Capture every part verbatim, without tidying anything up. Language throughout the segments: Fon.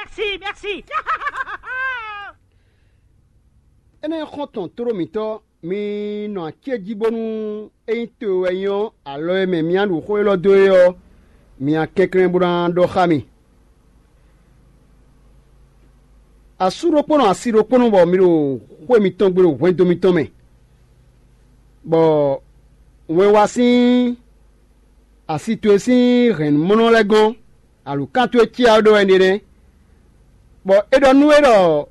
Merci, merci. Énɛ́ xɔ́ntɔn tló mǐtɔn, mi nɔ acéjí bónú ényí to wɛ nyí ɔ́, alɔ e mɛ mi ná ɖu xó élɔ́ dó é ɔ́, mi ná kɛnklɛ́n bó ná ɖɔ xá mì. Asú ɖokpónɔ asi ɖokpónɔ bɔ mi ɖo xwé mitɔn gbe ɖo hwɛndo mitɔn mɛ, bɔ wɛn wá sín asi towe sín hɛ̌nnumɔnɔ lɛ́ɛ gɔ́n, alǔkán towe cí ɔ́ ɖó wɛ nɛnɛ́, bɔ é ɖɔ nú we ɖɔ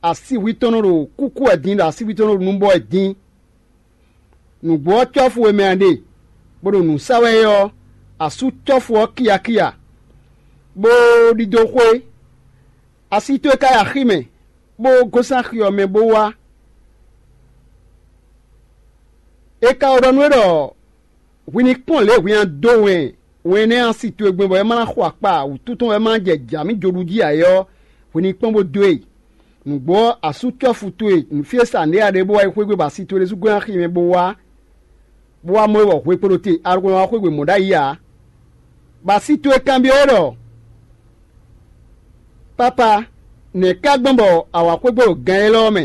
asihwi tɔn nɔ ɖo kúkú wɛ din, ɖo asihwi tɔn nɔ ɖo nubɔ wɛ din. Nǔgbó ɔ́, cɔ́fu e mɛ a ɖe, bó ɖo nǔ sa wɛ é ɔ́, asú cɔ́fu ɔ́ kiyakiya, bó ɖidó xwé. Asi towe ka yi axi mɛ, bó gosín axi ɔ́ mɛ bó wá. È ka wɛ ɖɔ nú we ɖɔ hwi ní kpɔ́n lě e hwi ná dó wɛn wɛn énɛ́ ɔ́ si towe gbɛn bɔ é má ná xo akpa wǔtu tɔn wɛ é má ná jɛ jǎ mì joɖu jí ǎ é ɔ́, hwi ní kpɔ́n bó dó e. Nǔgbó ɔ́, asú cɔ́fu towe nǔfyɛ́sa nɖé a ɖe bó wá yi xwé gbe bɔ asi towe ɖésú gɔ́n axi mɛ bó wá, bó wá mɔ é bɔ hwe kpo ɖo te, alɔkpa wá xwé gbe mɔ̌ ɖ'ayǐ ǎ. Bɔ asi towe kanbyɔ́ ɛ ɖɔ: Papa, nɛ̌ ka gbɔn bɔ a wǎ xwé gbe ɖo gan élɔ́ ɔ́ mɛ?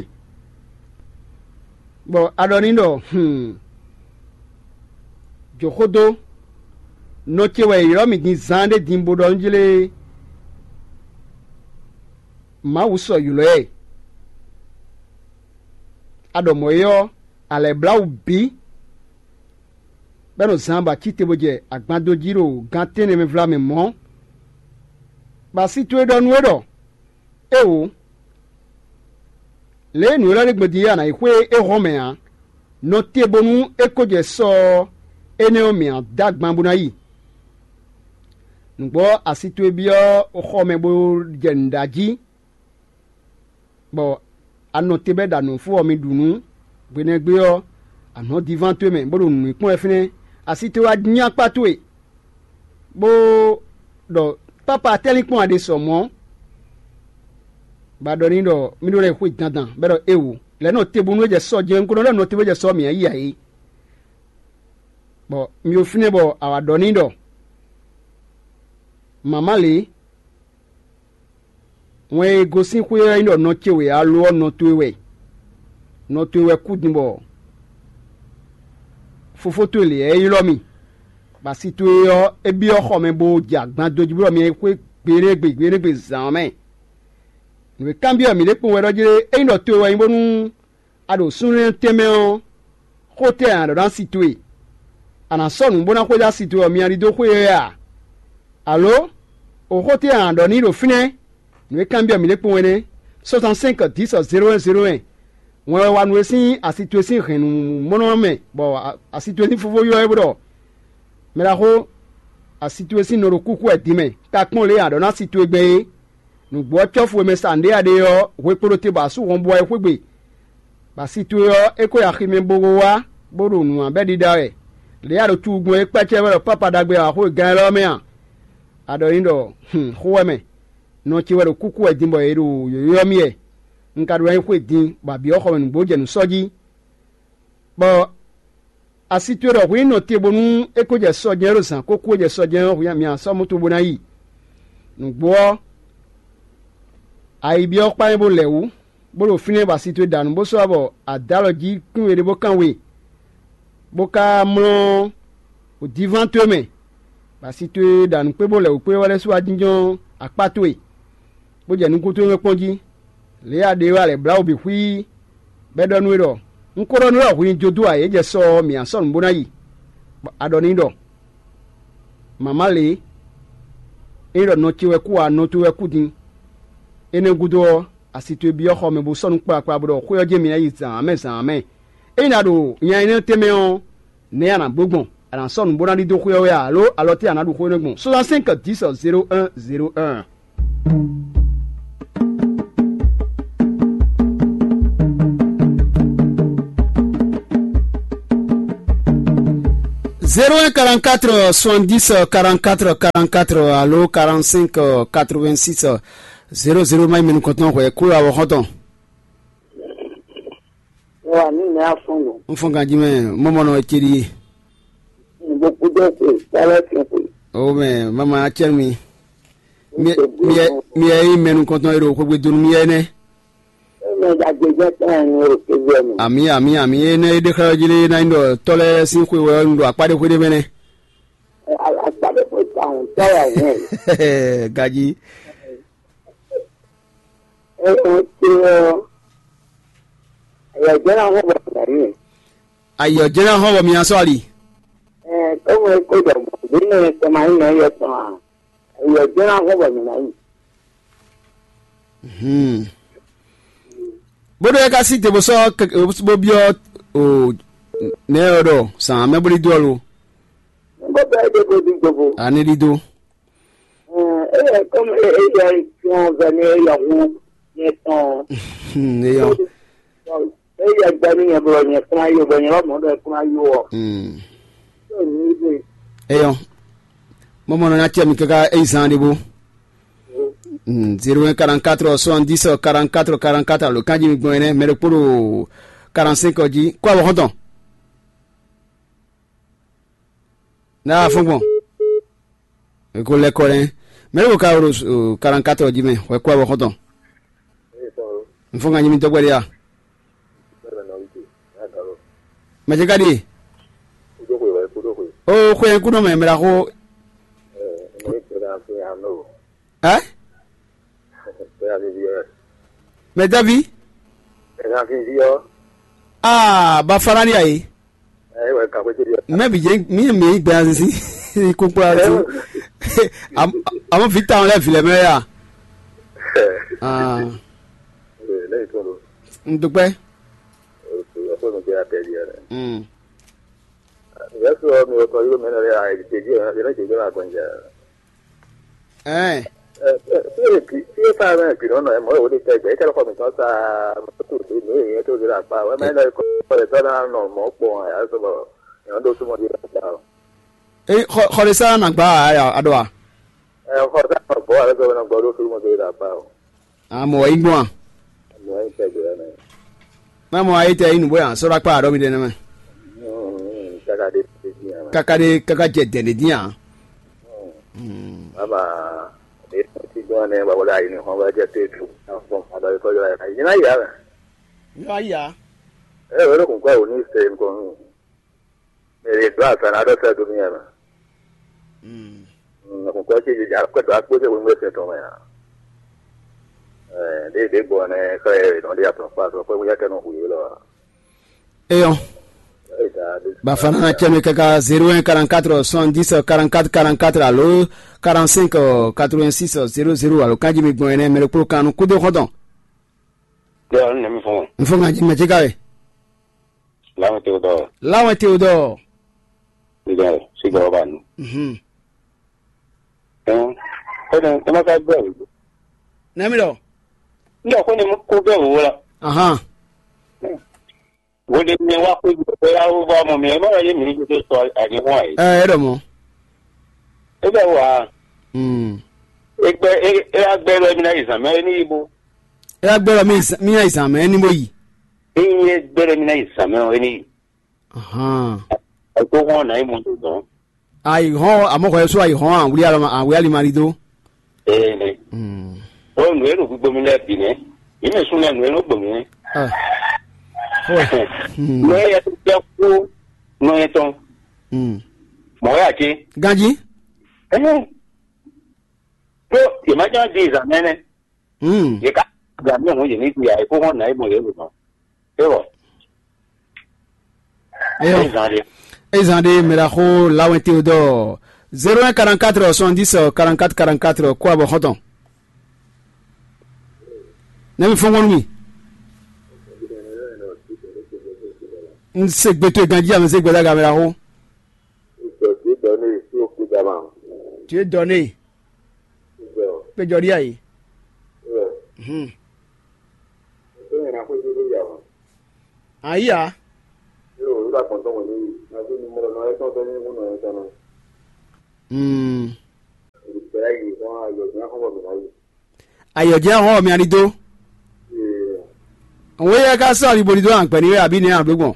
Bɔ a ɖɔ n'i ɖɔ: Hǔn, jǒ xó dó, nɔ ce wɛ è ylɔ́ mì din zaanɖé din bó ɖɔ nú jlé Mawu sɔ ylɔ́ ɛ. A ɖɔ mɔ̌ é ɔ́, a lɛ̌ blá wǔ bǐ, bɔ é nɔ zaan bɔ a cí te bó jɛ agban dó jí ɖo gan tɛ́nnɛ mɛ vlamɛ mɔ̌. Bɔ asi towe ɖɔ nú we ɖɔ: Éeǒ, lě e nǔ élɔ́ ɖe gbɔn din é a nǎ yi xwé é hɔn mɛ ǎ; nɔ te bónú é ko jɛ sɔ ɔ́, énɛ́ ɔ́, mǐ ná dó agban bó ná yi. Nǔgbó ɔ́, asi towe byɔ́ xɔ mɛ bó jɛ nǔ ɖa jí, bɔ a nɔ te bɔ é ɖo anɔ̌ fó ɔ́, mi ɖu nǔ. Hwenɛ́gbé ɔ́, a nɔ diván towe mɛ, bó ɖo nǔ e kpɔ́n wɛ fínɛ́. Asi towe wá nyí akpá towe, bó ɖɔ: Pápa, tɛ́ linkpɔ́n a ɖe sɔ mɔ̌? Bɔ a ɖɔ n'i ɖɔ: Mi ɖó lɛ́ xwé dandan, bɔ é ɖɔ: Éeǒ, lɛ̌ nɔ te bónú é jɛ sɔ́ jɛ́n, un ko nɔ lɛ́ nɔ te bó jɛ sɔ́ mǐ ǎ yi ǎ é. Bɔ mi ɖo fínɛ́ bɔ a wǎ ɖɔ n'i ɖɔ: Mǎmá lě, wɛn e gosín xwé ɔ́ nyí ɖɔ nɔ ce wɛ alo ɔ́, nɔ towe wɛ. Nɔ towe wɛ kú din bɔ fofó towe lě ɔ́ é ylɔ́ mì, bɔ asi towe ɔ́, é byɔ́ xɔ mɛ bó jɛ agban dó jí bó ɖɔ mi yi xwé gbeɖéegbe gbeɖéegbe zǎn ɔ́ mɛ. Nǔ e kanbyɔ́ mǐ ɖe kpowun wɛ ɖɔ jlé, ényí ɖɔ towe wɛ nyí bónú a ɖo súnnu tɛnmɛ ɔ́, xó tɛ́ a nǎ ɖɔ ná si towe? A nǎ sɔ́ nǔ bó ná xwedó asi towe ɔ́, mi ná ɖidó xwé ɛ a? Alo, oxó tɛ́ a nǎ ɖɔ n'i ɖo fínɛ́? Nǔ e kanbyɔ́ mǐ ɖe kpowun wɛ nɛ́: soixante-cinq dix zéro un zéro un. Wɛn wɛ wa nú we sín asi towe sín hɛ̌nnu mɔ́nɔ mɛ, bɔ asi towe sín fofó ylɔ́ we bó ɖɔ: Mɛ ɖaxó, asi towe sín nɔ ɖo kúkú wɛ din mɛ, ka kpɔ́n lě e a ɖɔ ná si towe gbɛn é. Nǔgbó ɔ́, cɔ́fu e mɛ sa nǔɖé a ɖe ɔ́, hwe kpo ɖo te bɔ asú hɔn bó wá yi xwé gbe, bɔ asi towe ɔ́, é ko yi axi mɛ bo wá, bó ɖo nǔ ǎ bɔ é ɖiɖa wɛ. Lě e a ɖo cuwugbɔn é kpɛ́cɛ́ wɛ ɖɔ pápa ɖagbe e a wa xó e gán élɔ́ ɔ́ mɛ a? A ɖɔ n'i ɖɔ: Hun, xó wɛ mɛ, nɔ ce wɛ ɖo kúkú wɛ din bɔ è ɖo yǒyó ɔ́ mì wɛ. Un ka ɖó ná yi xwé din, bɔ abǐ ɔ́ xɔ mɛ nǔgbó jɛ nǔ sɔ́ jí. Bɔ asi towe ɖɔ hwi ní nɔ te bónú é ko jɛ sɔ jɛ́n ɖo zǎn kókó e jɛ sɔ jɛ́n ɔ́, hwi mǐ sɔ́ moto bó ná yi. Nǔgbó ɔ́, a yi byɔ́ kpá mɛ bó lɛ wǔ, bó ɖo fínɛ́ bɔ asi towe ɖa nǔ bó sɔ́ bɔ a dǒ alɔ jí kún we ɖé bó kán we, bó ka mlɔ́ wǒdiván towe mɛ, bɔ asi towe ɖa nǔ kpé bó lɛ wǔ kpé wɛ lɛ́ sú wá jínjɔ́n akpá towe, bó jɛ nukún towe mɛ kpɔ́n jí. Lě e a ɖe é wɛ a lɛ̌ blá wǔ bǐ xwíí, bɔ é ɖɔ nú we ɖɔ: Un ko ɖɔ nú we ɖɔ hwi ní jó dó ǎ; é jɛ sɔ ɔ́, mǐ ná sɔ́ nǔ bó ná yi. Bɔ a ɖɔ n'i ɖɔ: Mǎmá lě, ényí ɖɔ nɔ ce wɛ kú ǎ, nɔ towe wɛ kú din. Énɛ́ gúdo ɔ́, asi towe byɔ́ xɔ mɛ bó sɔ́ nǔ kplakpla bó ɖɔ xwé ɔ́ jɛ́n mǐ ná yi zǎn ǎ mɛ zǎn ǎ mɛ. Ényí a ɖo nya énɛ́ tɛnmɛ ɔ́, nɛ̌ a nǎ bló gbɔn? A nǎ sɔ́ nǔ bó ná ɖidó xwé ɔ́ wɛ a, alo alɔ tɛ́ a nǎ ɖu xó énɛ́ gbɔn? Soixante-cinq dix zéro un zéro un. Zéro un quarante-quatre soixante-dix quarante-quatre quarante-quatre alo quarante-cinq quatre-vingt-six zéro zéro. Mayi mɛnu kɔntɔn hwɛ kúlɔ awɔ xɔntɔn. Wa ní mɛ afɔn lò. N fɔn ganji mɛ mɔmɔ nɔ eteli ye. Gbogbo dɔ kwe, kpalẹ kwe kwe. O mɛ mama acɛ mi. Mi mi yɛ mi yɛ yí mɛ nukɔntɔn e ɖo xwegbe donu mi yɛ nɛ. Eme ɖagbe jɛ tɔn enu o kebe mi. Ami ami ami e nɛ e ɖe xlɛ ɔ́ jí lé ná nyí ɖɔ tɔ́ lɛ́ɛ sín xwe wɛ un ɖo akpá ɖé xwé ɖé mɛ nɛ́. Akpa ɖé xwe ta hɔn tɔ́ wɛ hɛn. Gají. Eme te ɔ. Ɛyɛ jɛ na hɔn bɔ na yi. Ayɔ jɛ na hɔn bɔ mi asɔ ali. Ɛ kɔmɔ e ko dɔ bɔ bi ne kɔma yi na yɔ tɔn a. Ɛyɛ jɛ na hɔn bɔ mi na yi. Hmm. Bó ɖo é ká sí te bó sɔ́ bó byɔ́ o nɛ̌ ɔ́ ɖɔ sǎn mɛ bó ní dó alo. Bó bɛ é ɖe bó ɖi gbogbo. Aní ɖídó. Ɛ eyɛ kɔmɔ eyɛ tɔn vɛ ní eyɛ hu nyɛ tɔn. Hmm, eyɔ. Eyɛ gbɛ ní nyɛ bɔ nyɛ kún ayé bɔ nyɛ bá mɔ ɖɔ kún ayé wɔ. Hmm. Tó ní ibo. Eyɔ. Mɔmɔ nɔ nya tiɛ mi kaka eyi zan ɖe bo. Hmm, zéro un quarante-quatre soixante-dix quarante-quatre quarante-quatre alo kanji mi gbɔn ɛnɛ mɛ ɖokpó ɖo quarante-cinq ɔ́ jí kó awɔ xɔntɔn. N'a fɔ́n gbɔn. Eko lɛ kɔ nɛ. Mɛ ɖé ko ka wolo quarante-quatre ɔ́ jí mɛ, hwɛ kó awɔ xɔntɔn. N fɔ́n ka nyí mi dɔgbɛ ɖé a? Mɛ ce ka ɖíe? O xwe kú nɔ mɛ mɛ ɖaxó. Ɛ? Mɛ davi? Aa, ba fana ɖi ayi. Mɛ bi jɛ mi mi gbɛ azinzin. Kókpó azinzin. Amɔ vi ta lɛ vi lɛ mɛ ya. Aa. N dúpẹ́. Mm. Yɛsu ɔ mi wɔ tɔ yóò mɛ nɔ lɛ ayé jẹjẹ yẹn lɛ jẹjẹ la gbɔnjɛ. Ɛɛ. Fie fa mɛ gbi nɔ nɔ mɔ wo de tɛ gbɛ kɛlɛ xɔ mi tɔn sa mɔto de mi yɛ to de la kpa wɛ mɛ nɔ kɔ le tɔ na nɔ mɔ kpɔ ya so bɔ yɔn do sumo de la kpa o. Ee, xɔ xɔ de sa na gba a ya a ɖɔ a? Ɛɛ, xɔ sa nɔ bɔ ale sɔ nɔ gbɔ do sumo de la kpa o. A mɔ wɛ yi gbɔn a? Mɔ yi tɛ gbɛ mɛ. Má mɔ ayé tɛ yí nǔgbó yàn sɔ́ ɖó akpá àɖɔ mi ɖe nɛ́ mɛ. Kaka ɖe tɛ dín a. Kaka ɖe kaka jɛ dɛ̌n ɖe dín a. Baba ɖe ti gbɔn nɛ baba ɖe ayi ni xɔn bá jɛ te tu. Fɔn baba ɖe tɔjɔ la yìí na yà mɛ. Yɔ ayà. Ɛ wɛrɛ kun kɔ wò ní sɛ nkɔ nù. Mɛ ɖe dó asa na ɖɔ sɛ do mi yà mɛ. Kun kɔ ti dza kɔ dó akpó tɛ wíwú ɛsɛ tɔn mɛ a. Ɛ ɖe ɖe gbɔ nɛ xlɛ nɔ ɖe atɔn kpa sɔ kɔ wíyá kɛ nɔ hu yé lɔ. Eyɔn. Bafana cɛnɛ kaka zéro un quarante-quatre soixante-dix quarante-quatre quarante-quatre alo quarante-cinq quatre-vingt-six zéro zéro alo kanji mi gbɔn ɛnɛ mɛ ɖokpó kan nú kúdó xɔntɔn. Yɔ ne mi fún. N fún kanji mɛ tí ka wɛ. Láwọn tí o dɔ. Láwọn tí o dɔ. Sígbà sígbà ọba nù. Mhm. Ẹ ẹ má ká gbẹ òwò. Nẹ́mi lọ. Nígbà kó ni mo kó gbẹ òwò la. Ahan. Wo de mi wá kó gbẹ ya wo bá mọ mi ẹ má yé mi ní kó sọ àyè wọn àyè. Ẹ ẹ dọ̀ mọ́. Ẹ bẹ wà. Hmm. Ẹ gbẹ ẹ ẹ agbẹ lọ mi náà yìí sàn mẹ ẹ ní yìí bó. Ẹ agbẹ lọ mi náà yìí sàn mẹ ẹ ní bó yìí. Ẹ yẹ gbẹ lọ mi náà yìí sàn mẹ ẹ ní yìí. Ahan. Ẹ tó wọn náà yìí mọ tó dán. Ayi hɔn amɔ hɔ yɛ so ayi hɔn awuli alɔ awuli ali mari do. Ee. Hmm. O nù enu gbogbo mi lɛ bi nɛ. Yi mi sun lɛ nù enu gbogbo mi. Ah. Hɔɛ. Hmm. Nɔ yɛ tó jɛ kó nɔ yɛ tɔn. Hmm. Mɔ yà ké. Ganji. Ɛhɛn. Tó yɛ má jẹ́ di ìzà mẹ́nẹ́. Hmm. Yɛ ká gbà mí ọ̀hún yɛ ní di àyè kó hàn náà mọ̀ yẹ lò mọ́. Ewɔ. Eyɔ. Ezan de. Ezan de mɛ ɖaxó Lawɛn Théodore. Zéro un quarante-quatre soixante-dix quarante-quatre quarante-quatre kó abɔ xɔtɔn. Ne mi fɔn kɔn nú mi. N se gbe to ganji ame se gbe daga mɛ ɖaxó. Tu es donné. Péjọ ɖi ayi. Hmm. Ayi ya. Hmm. Ayɔ jɛ hɔn mi ani do. Nwe yɛ ka sɔ ali boli do agbɛ ni wɛ abi nɛ ado gbɔn.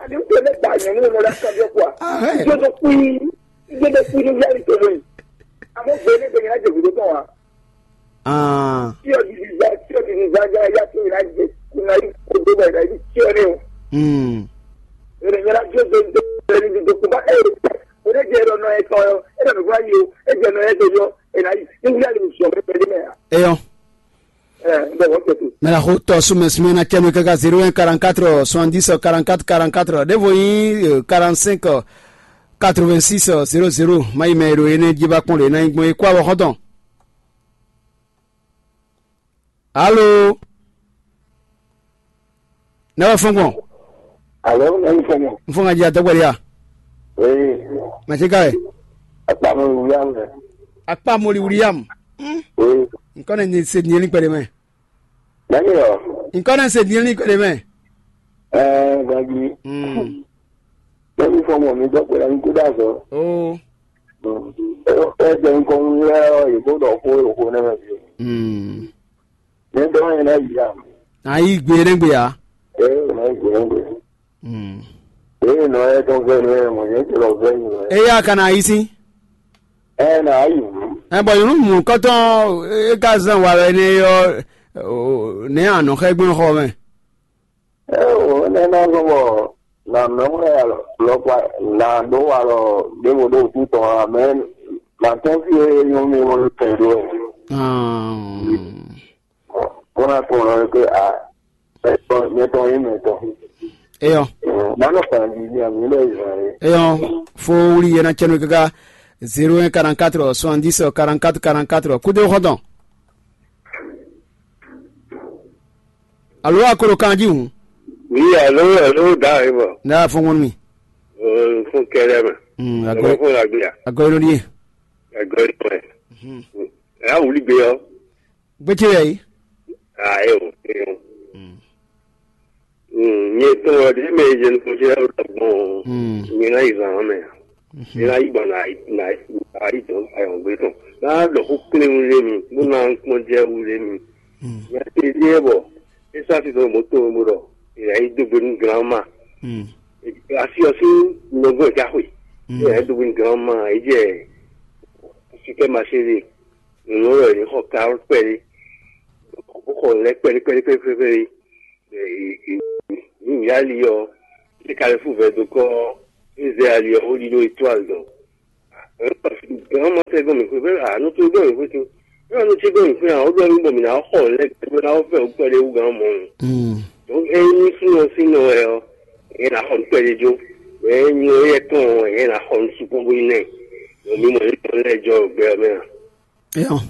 Ani n tɛ ne ba nyɔnu nɔ la kan bɛ kwa. Ahɛ. Jodo kui, jodo kui ni yali to ni. Amo gbe ne gbe nyina je gudo tɔn wa. Ah. Tiɔ di di za, tiɔ di di za ja ya to na je, kuna yi ko do ba na yi tiɔ ne o. Hmm. Ere nyina jodo do ni do ko ba e. O ne je ro no e to yo, e do ba yi o, e je no e to yo, e na yi. Ni yali mi so me pe de me. Eyɔn. Mɛ la xo tɔ sumɛ sumɛ na cɛnu kaka zéro un quarante quatre soixante dix quarante quatre quarante quatre ɖěvo nyí quarante cinq quatre vingt six zéro zéro. Má yi mɛ e ɖo énɛ́ jí ba kpɔ́n ɖo é ná nyí gbɔn é kó awɔ xɔ́ntɔn. Alo. Ne wɛ fɔn gbɔn. Alo, ne wɛ fɔn gbɔn. N fɔn ka jí atɔgbɛli ya. Ee. Mɛ ti ka wɛ. Akpamɔ wuli ya mɛ. Akpamɔli wuli ya mɛ. Ee. N kɔn ne se diɲɛ ni kpɛɖe mɛ. Nani ɔ? N kɔn ne se diɲɛ ni kpɛɖe mɛ. Ɛɛ, gaji. Mm. Ne wɛ fɔn gbɔn mi dɔ kpɛɖe mi kú dá zɔ. Oo. Ɛ jɛ n kɔn wuli ya ɔ, yebo dɔ ko yoko ne mɛ bi. Mm. Ne dɔ yɛ na yi ya. Ayi gbe ne gbe ya. Ee, na yi gbe ne gbe. Mm. Ee, nɔ yɛ tɔn vɛ nɔ yɛ mɔ yɛ tɛ lɔ vɛ nɔ yɛ. Eya ka na yi si. Ɛ na yi. Ɛ bɔ yunu mu kɔtɔn e ka zan wa wɛ ne yɔ ne anɔ xɛ gbɔn xɔ mɛ. Ɛ o ne na zɔn bɔ na mɛ wɛ alɔ lɔ kpa na do wa lɔ de wo do tu tɔn a mɛ na tɔn fi e nyɔ mi wo tɛ do. Ah. Bó ná kplɔ́n ɛ pé a mɛtɔn nyí mɛtɔn. Eyɔn. Mánɔ kpanví ní àmì lɛ ìzàn rẹ. Eyɔn, fo wuli yɛn na cɛnu kaka zéro un quarante quatre soixante dix quarante quatre quarante quatre. Kudo xɔtɔn. Alo akoro kanji hun. Oui, alo, alo, da e bɔ. N'a fɔ ŋɔnu mi. Fún kɛlɛ mɛ. Hmm, Alo agɔ fún la gbé ya. Agɔ yelo nie. Agɔ yelo mɛ. Hmm. Ɛ wuli gbé yɔ. Gbé tse yɛ yi. Ayo. Nye tɔn ɔ ɖe mɛ jɛ nukun jɛ ɖo gbɔn. Nye na yi zan mɛ. Nye na yi gbɔn na na ayi tɔn ayɔngbe tɔn. Na ɖɔ xó kplé wulé mi, bó na kpɔn jɛ wulé mi. Nya te ɖe bɔ esa fi tɔn mo to mo ɖɔ. Nya yi do gbe nu granma. Asi ɔsi nɔgbɔ ja xwe. Nya yi do gbe nu granma, e jɛ super marché de. Nunu wɛ yě xɔ kawó kpɛɖé, bó xɔ lɛ́ kpɛɖé kpɛɖé kpɛɖé kpɛɖé. Mǐ mǐ ali ɔ́, é ka lɛ́ fú vɛ̌ dó kɔ́, é zɛ ali ɔ́, bó ɖidó étoile dɔn. Gǎn ma tɛ gɔn mǐ xwé bɛ́ ǎ, nú tó gɔn mǐ xwé tín. É wá nú tí gɔn mǐ xwé ǎ, ó ɖɔ mì bɔ mǐ ná xɔ lɛ́ kpɛɖé bó ná fɛ wú kpɛɖé wú gǎn mɔ̌. Ényí súnɔ sín nɔ wɛ ɔ́, nyɛ ná xɔ nǔ kpɛɖé jó. Mɛ e nyi éyɛ́ tɔn ɔ́, nyɛ ná xɔ nǔ sukpɔ́ bó nyí nɛ́. Mǐ mɔ yě tɔn lɛ́ɛ jɔ ɖo gbɛ ɔ́ mɛ a? Eyɔn.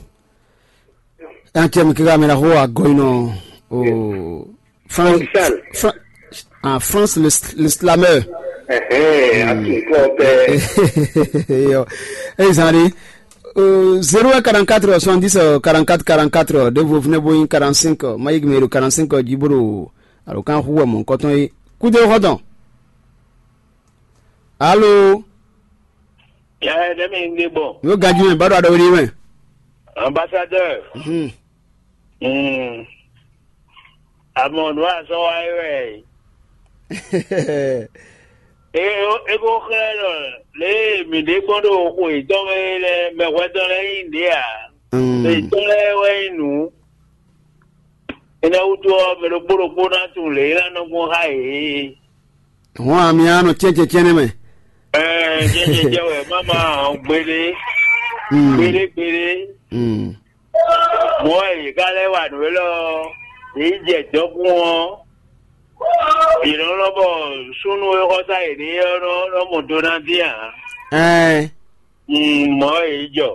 Ɛ, cɛ mi kíkà mi ná xó agɔyinɔ o. France, Fran- ah, France le, le slameur. Ɛhɛn, a tún kɔ bɛɛ. Yo. Ey zan ɖe. Zéro un quarante-quatre soixante-dix quarante-quatre quarante-quatre, ɖěvo fúnɛ́ bó nyí quarante-cinq, má yí mɛ ɖo quarante-cinq jí bó ɖo alɔkán xú wɛ mɔ̌hunkɔtɔn é. Kúdé xɔtɔn. Alo. Yɛ ɖe mi ɖe bɔ. Yóò ganjú mɛ bá ɖo aɖɔwé ɖi mɛ. Ambassadeur. Hmm. Àmọ́ nǔ azɔ́ wa é wɛ. E e ko xlɛ́ ɖɔ lě e mǐ ɖe gbɔn ɖo xwe yětɔn mɛ é lɛ́ɛ, mɛhwɛtɔn lɛ́ɛ nyí ɖě ǎ. Mɛ yětɔn lɛ́ɛ wɛ nyí nǔ. Énɛ́ wútu ɔ́, mɛ ɖokpó ɖokpó ná tunwun lě e é ná nɔ gbɔn xá yě. Hɔn ami á nɔ cɛ́ncɛ́ncɛ́n nɛ́ mɛ. Ɛɛ, jɛjɛjɛ wɛ má ma hɔn gbeɖé, gbeɖé gbeɖé. Mɔ̌ e yě ka lɛ́ wa nǔ élɔ́ ɔ́, yě yi jɛ dɔkun ɔ́, yě nɔ lɔn bɔ súnnu e xɔ sá yěɖée ɔ́ nɔ nɔ mɔ do ná dín ǎ. Ɛɛ. Mɔ̌ e yě jɔ.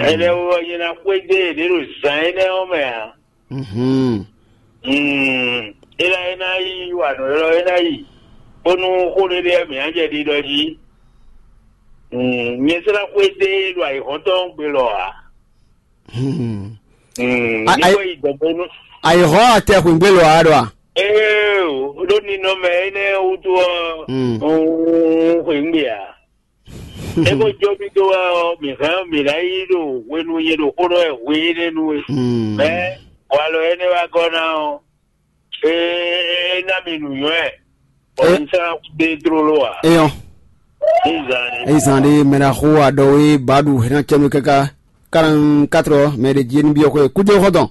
Ɛnɛ́ wú ɔ́, nyɛ ná xwedó yěɖée ɖo zǎn énɛ́ ɔ́ mɛ ǎ. Mhm. Mm, é ná é ná yi wa nǔ élɔ́ é ná yi, bónú xó ɖé ɖé mǐ ná jɛ ɖiɖɔ jí. Mm, nyɛ sɔ́ ná xwedó e ɖo ayǐhɔ́ntɔn gbe lɔ ǎ. Mhm. Mm, A- ní ayi- ko yi dɔ̌n bónú. Ayǐhɔ́n atɛxwǐngbé lɔ ǎ ɖɔ a? Ee, ɖó ninɔmɛ énɛ́ wútu ɔ́, Mm. un xweyǐngbe ǎ. É ko jó mì dó wɛ ɔ́, mǐ hɛn mǐ ná yi ɖo hwenu nyɛ ɖo xó ɖɔ wɛ hwe énɛ́ nu é. Mm. Mɛ walɔ énɛ́ wá gɔ́ ná ɔ́, é é ná mi nǔnywɛ́, bɔ É. mi sɔ́ ná kú dé tlóló ǎ. Eyɔn. Ní zan ni. Eyi zan ɖe mɛ ɖaxó aɖɔwe baɖu hɛn cɛnu kaka quarante-quatre mɛ ɖe jí ní biɔ xwe kúdé xɔtɔn.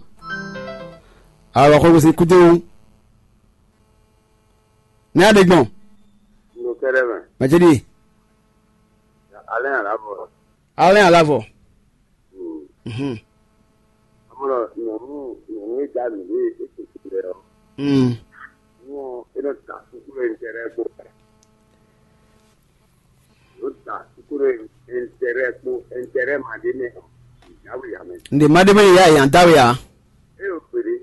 Alɔ xɔ gosi kúdé wu. Ní aɖe gbɔn. Nukɛrɛ mɛ. Mɛ ce ɖi. Alɛ alavɔ. Alɛ alavɔ. Mhm. Amɔlɔ nyɔnu nyɔnu e da mi ɖe e tete lɛ ɔ. Mm. Nɔ e nɔ da suku ɖe ntɛrɛ kpo. Nɔ da suku ɖe ntɛrɛ kpo ntɛrɛ ma ɖe mɛ. Yawe yamɛ. Nde ma ɖe mɛ ya yan dawe ya. E yo gbede.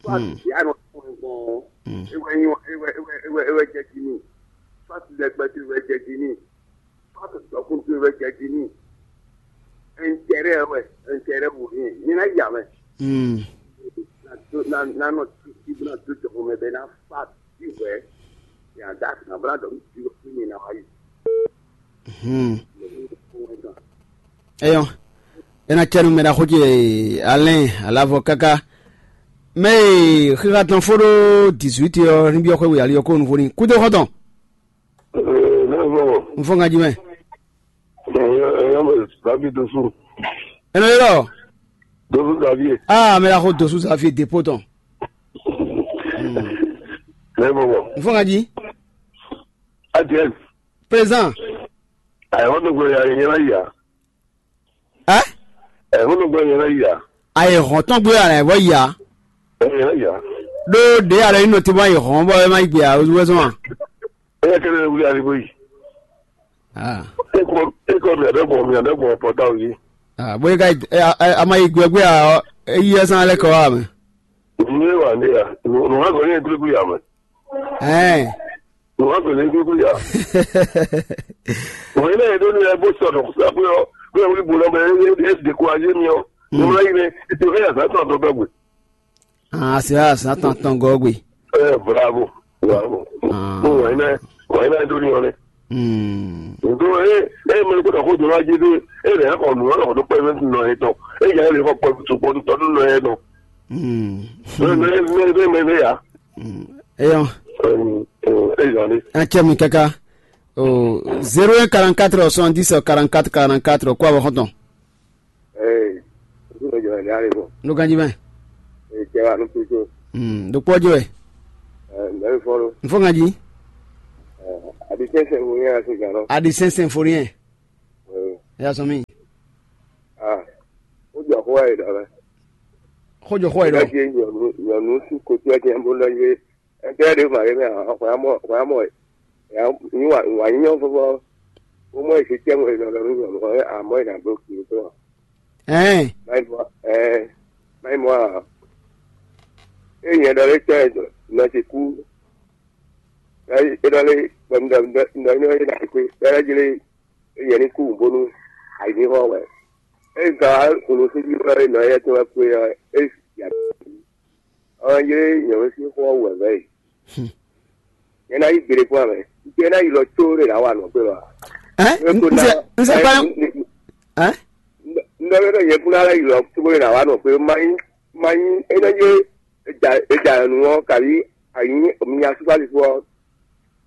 Soit ya nɔ fún gbɔn. E wɛ nyɔ e wɛ e wɛ e wɛ e wɛ jɛ jí mi. Soit lɛgbɛ to e wɛ jɛ jí mi. Soit dɔkun to e wɛ jɛ jí mi. Intérêt wɛ, intérêt wò ní. Mi na ya mɛ. Mm. Na do na na nɔ titi na do jɔxɔ mɛ bɛ na fa bi wɛ. Ya da na bla dɔ mi ti ko mi na wa yi. Hmm. Eyɔn. Ena cɛnu mɛ ɖaxó ce Alain alavɔ kaka. Mɛ e xixa tɔn fó ɖó dix-huit ɔ ní byɔ́ xwé we ali ɔ́ kó nuvo ní kúdó xɔ́ntɔn. Ee, ne vɔ. N fɔ ŋa jí mɛ. Ɛyɔ ɛyɔ mɛ David Dosu. Ɛnɛ yɔrɔ. Dosu Xavier. Aa mɛ ɖaxó Dosu Xavier dépôt tɔn. Ne vɔ. N fɔ ŋa jí. Adiɛ. Présent. Ayɔ ne gbɛ ya yɛ la ya. Ɛ? Ɛ, ŋun nɔ gbɛ yɛn lɛ yi a? Ayi hɔn tɔn gbé alɛ vɔ yi a? Ɛ, yɛn lɛ yi a? Ɖó ɖě alɛ yín nɔ te bɔ ayi hɔn bɔ ɛ má yi gbé a wezɔn a? Ɛ yɛ kɛnɛ wuli ali bɔ yi. Ah. E kɔ e kɔ mi adɛ gbɔn mi adɛ gbɔn pɔta o yi. Ah, bóyá ka ɛ a ma yi gbé gbé a ɔ, e yi ɛ sán alɛ kɔ wa mɛ. Nù yé wà ní ya. Nù nù hàn kò ní ẹ gbégbé yà mẹ. Ɛɛ. Wọ́n á bẹ̀rẹ̀ ní gbígbó yà. Wọ́n yín náà yẹn tó ní ẹ bó sọ̀rọ̀ kó sábẹ́ ọ bí ẹ wúlí bò lọ́mọ ẹ ẹ ẹ dékúrajé mi ọ. Ní wọ́n yín ní ètò ẹ yà sá tán tó bẹ́ẹ̀ gbé. Ah, c'est ça, ça t'entend gogwe. Ẹ bravo, bravo. Ah. Wọ́n yín náà wọ́n yín náà tó ní ọ ní. Hmm. Nítorí ẹ ẹ mẹ́rin kó dàkó jọ̀rọ̀ ajé dé ẹ lẹ́yìn kọ̀ nù ọ́ lọ́kọ̀ tó pẹ́ mẹ́tì nọ ẹ tán ẹ yà ẹ lè kọ́ pẹ́ tó pọ́ tó tọ́dún nọ ẹ tán. Hmm. Bẹ́ẹ̀ bẹ́ẹ̀ bẹ́ẹ̀ bẹ́ẹ̀ bẹ́ẹ̀ yà. Hmm. Eyɔn. Ẹ yà ni. An cɛ mi kaka. O zéro un quarante-quatre soixante-dix quarante-quatre quarante-quatre kó a bɔ xɔntɔn. Ee, n tún lè jọ ẹ̀ ní àlè bọ̀. Ló ganjí mẹ́. Ee, cɛ wa ló tó tó. Hmm, ɖo kpɔ́ jɔ ɛ. Ɛ, mɛ fɔlɔ. N fɔ ganjí. Ɛ, adi sɛnsɛn wo yẹn ase gan lɔ. Adi sɛnsɛn fo yẹn. Ee. Ɛ yà sɔn mi. Ah, ó jọ kó wá yìí dɔ lɛ. Kó jọ kó wá yìí dɔ. Ẹ jẹ nyɔnu nyɔnu sí kojú ẹ jẹ bó lọ yé. Ɛntɛ ɖe ma ɖe mɛ ɔ xɔ ya mɔ xɔ ya mɔ ya nyi wa wa nyi nyɔ fɔfɔ. Wo mɔ esi tɛ mo e nɔ lɔ nu nyɔ mɔ amɔ e na blo kiri to. Ɛn. Mai bɔ ɛ. É mɔ a? É nyɛ ɖɔ lé tɔ́ ɛ nɔ ce kú. É ɖɔ lé bɔ un ɖɔ un ɖɔ un ɖɔ é ná xwé. É jlé é nyɛ ní kú bónú ayǐ ní xɔ wɛ. É ka hunu sí jí wɛ nɔ éyɛ́ tɔn wɛ kú é ɔ́, é ya ɔ́ jlé nyɛ wɛ sín xɔ wɛ vɛ́ yi. Nyɛ ná yí gbeɖé kpɔ́n amɛ. Jɛ ná yi lɔ tó ɖé ná wa nɔ gbé lɔ. Hein? Nze nze pa. Hein? Ndɔ bɛ nyɛ kún ná yi lɔ tó ɖé ná wa nɔ gbé. Mayi mayi é nɔ jlé. Eja eja nu ɔ́ kabi ayi mi asúkpalifo ɔ́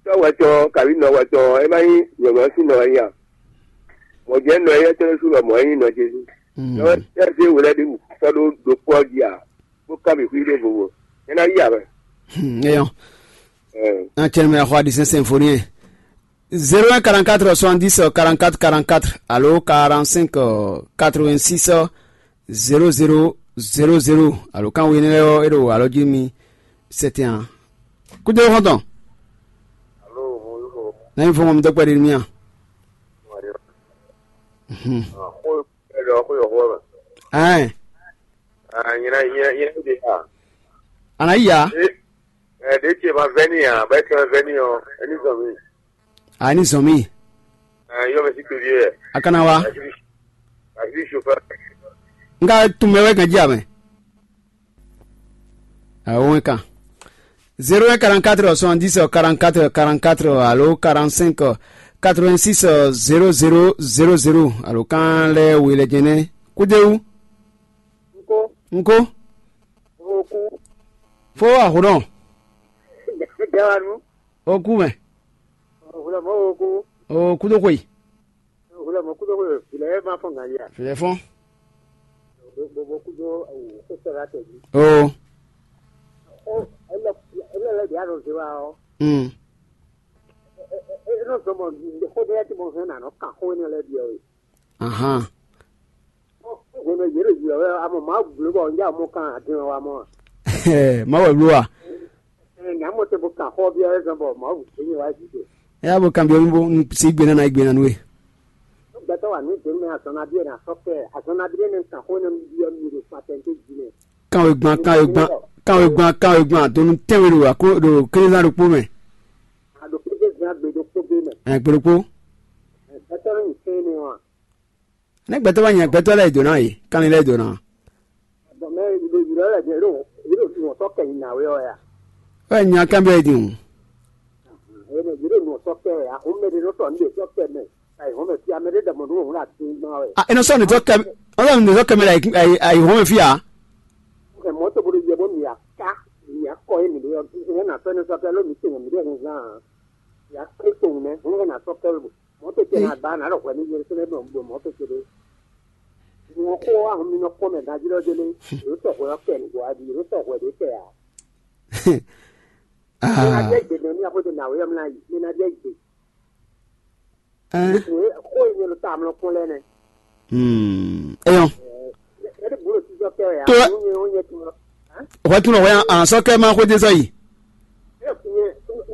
tɔ́ wɛ tɔn kabi nɔ wɛ tɔn ɔ́, é má nyí nyɔ̌mɔ́ sín nɔ wɛ nyí a? Mɔ̌ jɛ́n nɔ éyɛ́ tɔn ɖésú lɔmɔ̌ é nyí nɔ Jezu. Nɔ wɛ tɛ́ zé we lɛ́ɛ ɖi wǔ sɔ́ ɖó ɖokpó ɔ́ jí a? Bó ká mì xwí ɖěvo. É ná yí a mɛ. Eyɔn. Ɛ. Acɛnmɛ axɔ adi sɛnsɛn fo n'i. Zéro un quarante-quatre soixante-dix quarante-quatre quarante-quatre alo quarante-cinq quatre-vingt-six zéro zéro zéro zéro alo kan we énɛ́ lɛ́ɛ ɔ́, é ɖo alɔ jí mi sɛtɛn ǎ. Kúdó xɔ́ntɔn. Alo, mo yí xɔ. Nɛ́ fɔ́n mi dɔ́ kpɛɖé nú mì a? Wà á yọ. Mhm. Ah, xó ɛ lɔ xó yɔ xó ɛ mɛ. Ɛn. Ah, nyina nyina nyina de a. Ana yi ya. E, e de ce ma vɛni a, bɛ ce ma vɛni o, e ni zɔn mi. A ni zɔn mi. Eh, yɔ mɛ si kpe vie. A kana wa. Asi asi chauffeur. N ka tun mɛ wɛ kan jí a mɛ. Awo wɛ kan. Zéro un quarante-quatre soixante-dix quarante-quatre quarante-quatre alo quarante-cinq quatre-vingt-six zéro zéro zéro zéro alo kan lɛ we lɛ jɛnɛ. Kúdéwu. Nko. Nko. Oku. Fo ahunɔ. Dawanu. Oku mɛ. Hulɔmɔ oku. O kúdó xwe. Hulɔmɔ kúdó xwe. Vilɛ ma fɔn ganja. Vilɛ fɔn. Gbogbo kúdó awu kó sɛ la tɛ bi. O. Ɔ, ele ele le dia no zewa o. Mm. E no zɔmɔ xo de ti mo hɛn na no kan xo ne le bi o. Ahan. Hwenu e yě ɖo yi ɔ́ wɛ amɔ Mawu bló bɔ un jɛ amɔ kan adin ɔ́ wá mɔ a? Má wɛ bló a? Ɛɛ, nyɛ amɔ te bo kan xɔ byɔ́ wɛ zɔn bɔ Mawu gbé nyɛ wá yi ɖe. Ɛ yá bo kan byɔ́ mì bó un sí gbe ná ná yi gbe ná nú we. Gbɛtɔ́ wa nǔ dě mɛ azɔn nabí ɛ ná sɔ́ kɛ azɔn nabí ɛ nɛ kan xó nɛ byɔ́ mi ɖo patɛnté jí mɛ. Kanwegban kanwegban kanwegban kanwegban donu tɛnwe ɖo akó ɖo kézán ɖokpó mɛ. A ɖo kézán gbe ɖokpó gbé mɛ. Ɛ gbe ɖokpó. Gbɛtɔ́ nɔ nyi sɛn nɛ wa. Ne gbɛtɔ́ ma nya gbɛtɔ́ lɛ́ɛ dǒ ná e, kanlin lɛ́ɛ dǒ ná. Bɔn mɛ ɖo yi lɔ lɛ ɖo yi ɖo nɔ sɔ kɛ yi na we ɔ ya. Wɛ nya kan bɛ din o. Ɛ mɛ yi ɖo nɔ sɔ kɛ ya, o mɛ de nɔ tɔ nu de sɔ kɛ mɛ. Ayi hɔn mɛ fi amɛ de dɛmɔ nu o hun la tin gbɔn wɛ. A e nɔ sɔ ne sɔ kɛ, ɔ sɔ ne sɔ kɛ mɛ la ayi hɔn mɛ fi a. Ɛ mɔ to bolo yɛ bɔ mi ya ka mi ya kɔ ye mi de yɔ, ne na sɔ ne sɔ kɛ lo mi te mi de hun zan. Ya kpe to hun mɛ, hun na sɔ kɛ lo. Mɔ̌ tete ná ba nǎ ɖɔ hwɛ ní Yerúsalɛ́mu ɖo mɔ̌ tete ɖé. Nǔ ɔ́ xó ahun mi nɔ kpɔ́n mɛ ganjí ɖɔ délé, yǒ sɔ hwɛ ɔ́ kɛ nǔgbó wá jí, yǒ sɔ hwɛ ɖě kɛ ǎ. Mi ná jɛ gbe nɔ ní axwé de nǎwe ɔ́ mlá yi, mi ná jɛ gbe. Xó e nyɛ ɖo ta amlɔ kpɔ́n lɛ́ɛ nɛ́. Eyɔn. Ɛɖi bǔ ɖo sísɔ kɛ wɛ. To ǎ, nú nyɛ ó nyɛ tun ɔ́. Hwɛ tunɔ hwɛ an sɔ kɛ ma xwedé sɔ yi. Ɛ nyɛ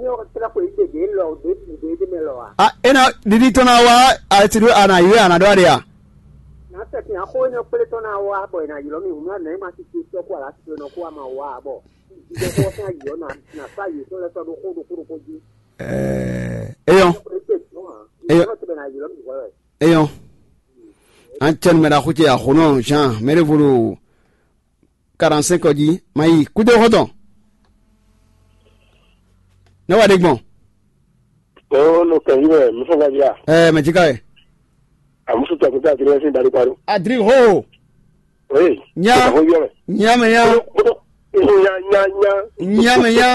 nyɛ ɔ tla ko yi de de lɔ de de de mɛ lɔ a. A ena ɖiɖi tɔn na wa ati ɖo ana yi ana ɖɔ aɖe a. Na tɛtin axo nyɔ kple tɔn na wa bɔ ena ylɔ mi hunu anɛ ma ti ti tɔ ko ala ti nɔ ko ama wa bɔ. Ìdíje kó sán yìí ɔ̀nà nàfá yìí tó lẹ́sọ̀ ɖokó ɖokó ɖokó jí. Ɛɛ eyɔn. Eyɔn. Eyɔn. An cɛ numɛ ɖaxó ce axɔnɔ Jean mɛɖevolo quarante-cinq ɔ́ jí ma yi kúdó xɔtɔn. Ne wà ɖe gbɔn. Oo, no kɛnyi mɛ, mi fɔ gbadia. Ɛɛ mɛ jika yɛ. Amusu tɔ kuta adiri sin dari kparu. Adiri ho. Oui. Nya. Ko yɔ mɛ. Nya mɛ nya. Ko nya nya nya. Nya mɛ nya.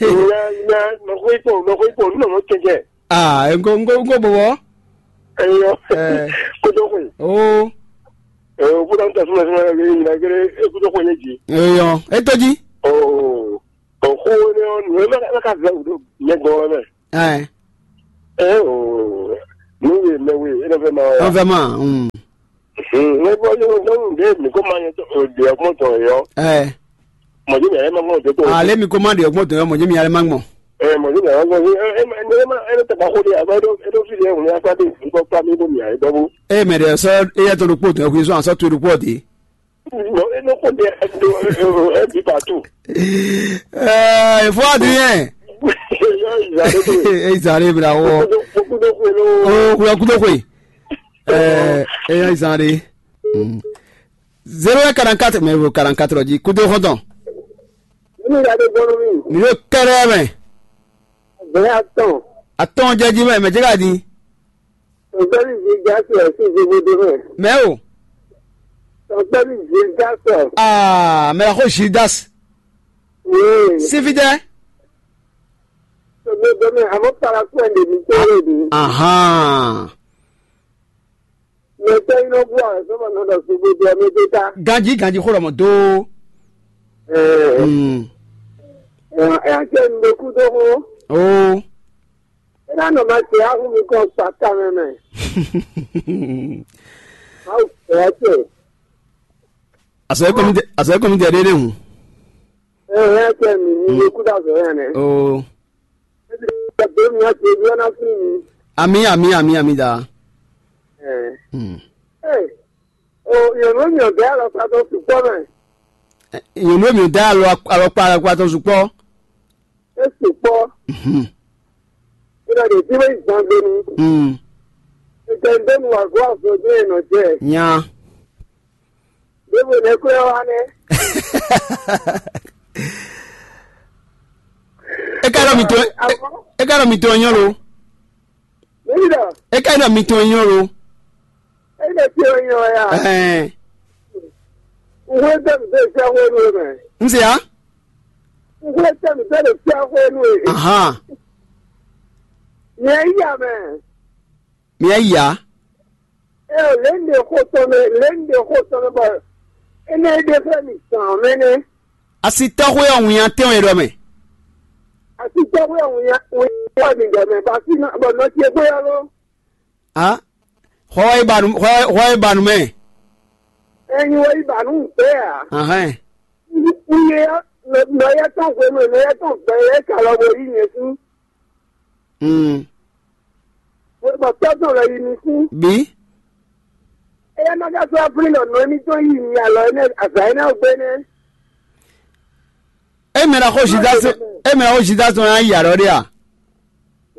Nya nya. Nɔkɔ ikpɔ, nɔkɔ ikpɔ, nínú ọmọ kẹkẹ. Ah, nko nko nko bɔbɔ. Eyɔ. Ɛɛ. Kodo ko. Oo. Ɛɛ, o kuta n tɛ suma suma yɛ yɛ yɛ yɛ e kudo ko ne ji. Eyɔ. Eto ji. Oo. O xó énɛ́ ɔ́, nǔ e mɛ ka vɛ́ wǔ ɖo nyɛ gɔ́n ɔ́ mɛ. Ɛɛ. Ɛ o, nǔ we mɛ we, é nɔ vɛ́ ma ɔ́ ya. Ɔn vɛ́ ma. Mm. Mɛ bɔ yóò nyɔnu ɖé mi kó ma nyɛ ɖe ɔgbɔn tɔn yɔ. Ɛɛ. Mɔdé mi ayé ma gbɔn tó tó. Ale mi kó ma ɖe ɔgbɔn tɔn yɔ mɔdé mi ayé ma gbɔn. Ɛ mɔdé mi ayé ma gbɔn. Ɛ ɛ ɛ ɛ ɛ tɛ ba xó de, a bɛ ɖo e ɖo fi de, ŋun ya kpa de, ŋun kɔ kpa mi ɖo mi ayé dɔbɔ. Eye mɛ ɖe sɔ eya tɔn ɖokpó tɔn yɔ kó sɔ asɔ to ɖokpó ɔ́ de. Bon, e nɔ xo ɖe do e bi partout. Ɛɛ, fo adi yɛn. Yɔ izalɛ do. Izalɛ bila wɔ. Kudo kudo kudo. O kudo kudo koe. Ɛɛ, eya izalɛ. Zéro un quarante-quatre, mais o quarante-quatre ɔ́ jí kudo xɔntɔn. Nínú ìyá tó gbọ́n nú mi. Mi yóò kɛrɛ mɛ. Bẹ́ẹ̀ atɔn. Atɔn jẹ jí mɛ, mɛ jẹ ká di. Tɔ̀gbẹ́ni Zidasi ẹ̀ sí Zobodo mẹ́. Mɛ o. Tɔ̀gbẹ́ni Zidasi. Aa, mɛ la xo Gildas. Wéé. Sífidɛ. Zobodo mẹ́, àmọ́ Paraku ẹ̀ lè mí tó lè dùn. Ahan. Mɛ tẹ́ iná bú àwọn sọ́mọ náà lọ Zobodo ẹ̀ mí tó ta. Ganji, ganji xo lɔmɔ dó. Ẹ̀ Hmm. ẹ̀ ẹ̀ ẹ̀ ṣe ń lo kú tó hó. O. Ena nɔ ma se ahu mi kɔ kpa ta mɛ mɛ. Awu fɛ tɛ. Asɔ ekɔmi tɛ, asɔ ekɔmi tɛ ɖe ɖe ŋu. Ɛ ɛ tɛ mi ni ye kuda zɔ yɛ nɛ. Oo. Ebi tɛ mi ati ebi ɔna fi mi. Ami, ami, ami, ami da. Ɛ. Hmm. Ɛ. O yɛn mi ò nyɔ dɛ alɔ sa tɔ sukpɔ mɛ. Nyɔnu mi da alɔ alɔkpa alɔkpa tɔ sukpɔ. É sukpɔ́. Mhm. È nɔ ɖe fí bó yi zangbe nu. Mm. È jɛ nǔ dó nu wǎ gɔ́ azɔn jɛ́n è nɔ jɛ. Nya. Ɖěvo nɛ́ kwɛ́ ɔ́ wá nɛ́. É ka ɖɔ mi tɔn é ka ɖɔ mi tɔn nyɔ́ lo. Mǐ ɖɔ. É ka ɖɔ mi tɔn nyɔ́ lo. É ɖe fí ɔ́ nyɔ́ wɛ a? Ɛhɛn. Nǔ e dó nǔ dó e fíá xwé nú we mɛ. Un se ya? Nǔ e tɛ́ nǔ dó ɖo fíá xwé nú we. Ahan. Nyɛ yí ya mɛ. Mi ya yi ya? Eo lě un ɖe xó tɔn mɛ, lě un ɖe xó tɔn mɛ bɔ énɛ́ é ɖe xlɛ́ mì zǎn mɛ nɛ́. Asitɔ́xwé ɔ́ winnyá tɛ́nwe ɖɔ mɛ. Asitɔ́xwé ɔ́ winnyá winnyá mi ɖɔ mɛ bɔ así bɔ nɔ ce gbé ɔ́ ló. A xɔ wɛ yi ba nu xɔ wɛ yi ba nu mɛ. Ẹyin wɛ yi ba nu gbé a? Ahɛn. Iye nɔ yɛ tɔn hwenu nɔ yɛ tɔn gbɛ yɛ ka lɔ bo yi nyɛ fún. Mm. Bɔ tɔ́ tɔn lɔ yi mi fún. Bi. Eya ma ka sɔ́ ablí ɖɔ nɔ émítɔn yi mi alɔ énɛ́ azǎn énɛ́ ɔ́ gbé nɛ́. E mɛ ɖaxó Judas e mɛ ɖaxó Judas tɔn yá yi alɔ ɖé a?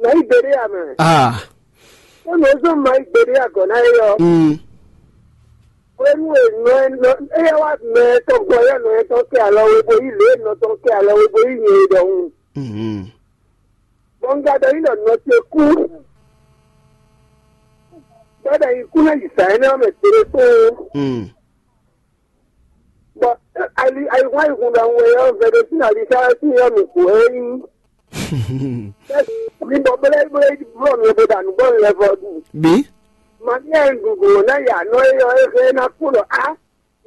Nɔ yi gbeɖé ya mɛ. Ah. Ó nɔ zɔn ma yi gbeɖé ya gɔ̌ ná é ɔ́. Mm. Hwenu e nɔ e nɔ éyɛ́ wá mɛ tɔn gbɔ yɛ nɔ yɛ tɔn kɛ alɔ we bo yí lě e nɔ tɔn kɛ alɔ we bo yí nyɛ e ɖɔhun. Mhm. Bɔ un ka ɖɔ yí ɖɔ nɔ ce kú. Bɔ ɖɔ yi kú ná yi zǎn énɛ́ ɔ́ mɛ tere kpóó. Mm. Bɔ ali ayihun ayihun ɖɔhun e ɔ́ vɛɖe sín ali sáré sín ɔ́ mi kú é nyí. Mi bɔ blé blé bló mi bo ɖa nǔ gbɔn lɛ vɔ ɖu. Bi. Mami ɛ ɖuɖu ná ya nɔ é ɔ́ é hɛn ná kú ɖɔ á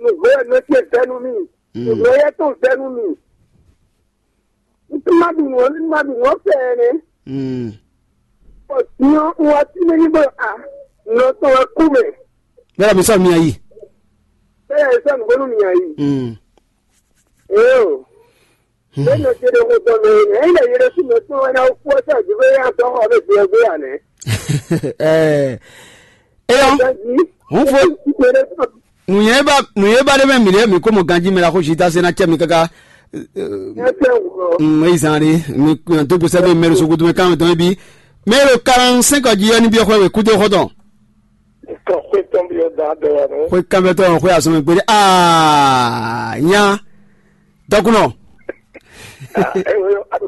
nǔgbó ɛ nɔ ce vɛ́ nú mì. Nǔgbó yɛ tɔn vɛ́ nú mì. Ntoma ɖu nǔ ɔ́ ntoma ɖu nǔ ɔ́ fɛ ɛnɛ. Mm. Bɔ nyɔ un wá tí mɛ ní bɔ a nɔ tɔn wá kú mɛ. Bẹ́ẹ̀ mi sọ mi ayi. Bẹ́ẹ̀ sọ nùgbónú mi ayi. Mm. Ee o. Bẹ́ẹ̀ nọ ṣe lè mú tọ́ mẹ ní ẹ̀yìn lè yẹrẹ sí mi fún ẹ náà kú ọjọ́ ìdílé yá tọ́ ọ bẹ́ẹ̀ fi ẹgbẹ́ yà nẹ́. Ẹ ẹ yọ. Hun fo. Ìpele tán. Nǔnyɛ ba nǔnyɛ ba ɖé mɛ mi ɖé mi kó mɔ ganjí mi la xó si ta se na cɛ mi kaka. Ẹ tẹ wúrọ. Mm, eyi zan ɖé mi kúnyà tó gbèsè mi mɛrù sokoto mi kàn tɔn bi. Mɛrù quarante-cinq ɔdzi yɔ ni bi xɔ wɛ kúté xɔtɔn. Kɔ xwé tɔn bi ɔdà dɔ wà nù. Xwé kanbɛ tɔn xwé asɔmɛ gbélé aa nya dɔkunɔ. Ewe ado.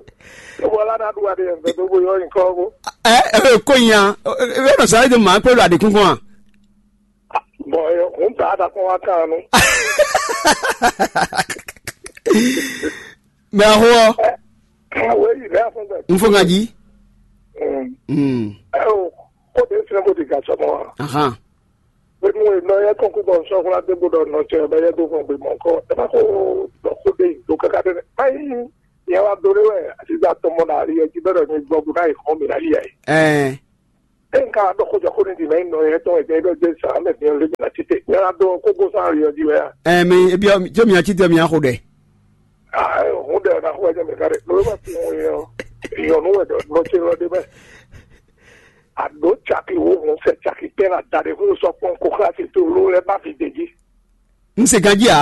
Ewe ala na do wa de yɛn fɛ do bo yɔ nkɔ ko. Ɛ ɛ ko nya. Ɛ ɛ sáré de maa kpé lo adekun kɔn a. Bɔn ɛ hun ta da kɔn wa kan nu. Mɛ a xo ɔ. Ɛ wo yi lɛ fún bɛ. N fo ŋa jí. Mm. Mm. Ɛ o ko de sinɛ ko de ga sɔmɔ wa. Ahan. Pé mú iná yẹ kɔn kú bɔ sɔkúnlá dé gbọdọ nọ tẹ bẹ yẹ dó fún gbé mọ kọ ẹ má kó dọ kó dé yìí tó káká dé. Ayi yẹn wá dó lé wẹ àti gba tọmọ náà rí ẹ jí bẹrẹ ní gbọgbó náà yìí kàn mí náà yìí ẹ. Ẹ. Ẹ nǹkan àdókòjọ kó ní dìmẹ́ ń nọ yẹn tán ẹ̀jẹ̀ ẹgbẹ́ gbé sàn án mẹ́fì ọ̀lẹ́gbẹ̀ náà títẹ̀ yẹn wá dó kókó sáà rí ọjí wẹ́ yá. Ẹ mi ebi tí mi àti tẹ mi àkó dẹ. Òun dẹ̀ ọ̀nà àkó ẹ̀jẹ̀ mi kárí lórí wà fún wọn yẹn o. Ìyọ̀nù wẹ̀ dọ̀ lọ sí lọ́dẹ bẹ́ẹ̀. Àdó tsaki wo hùn sẹ̀ tsaki pẹ́ là dàdé fún sọ pọ́n kó kíláàsì tó ló lẹ́ bá fi dèjì. Un se ganjí ǎ.